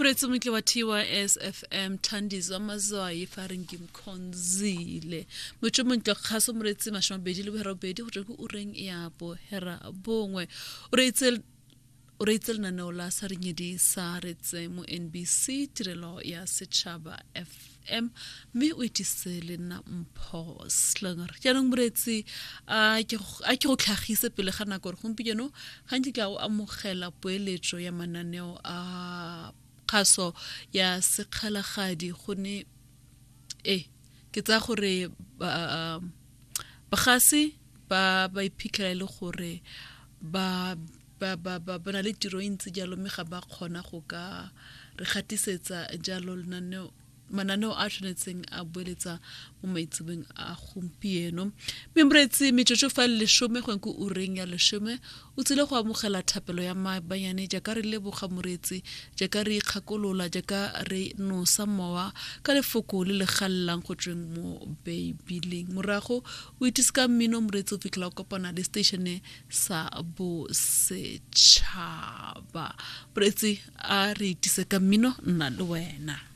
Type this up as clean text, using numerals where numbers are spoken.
Moreetsi montle wa TYSFM Thandiswa Mazwai fa re ngimkhonzile. Motho montle kgaso moreetsi 28 go tswa ko ureng ya bohera bongwe. O reetse o reitse lenaneo la sa renyedi sa retse mo NBC tirelo ya setšhaba FM mme o itise le nna Mpho Slinger. Jaanong moreetsi a ke go tlhagise pele ga nako gore gompieno ga nkitla o amogela poeletso ya mananeo a kgaso ya sekgalagadi gonne e ke tsaya gore bagasi ba ba iphitlhela e le gore ba ba ba ba ba na le tiro e ntsi jalo mme ga ba kgona go ka re gatisetsa jalo lenaneo mananeo a tshwanetseng a boeletsa mo maitsebeng a gompieno mme moreetsi metsotso fa le lesome go ko ureng ya lesome o tsile go amogela thapelo ya maabanyane jaaka re leboga moreetsi jaaka re ikgakolola jaaka re nosa mowa ka lefoko le le galelang go tsweng mo beibileng morago o itise ka mmino moreetsi o fitlhela o kopana le station sa bosetšhaba moreetsi a re itise ka mmino nna le wena.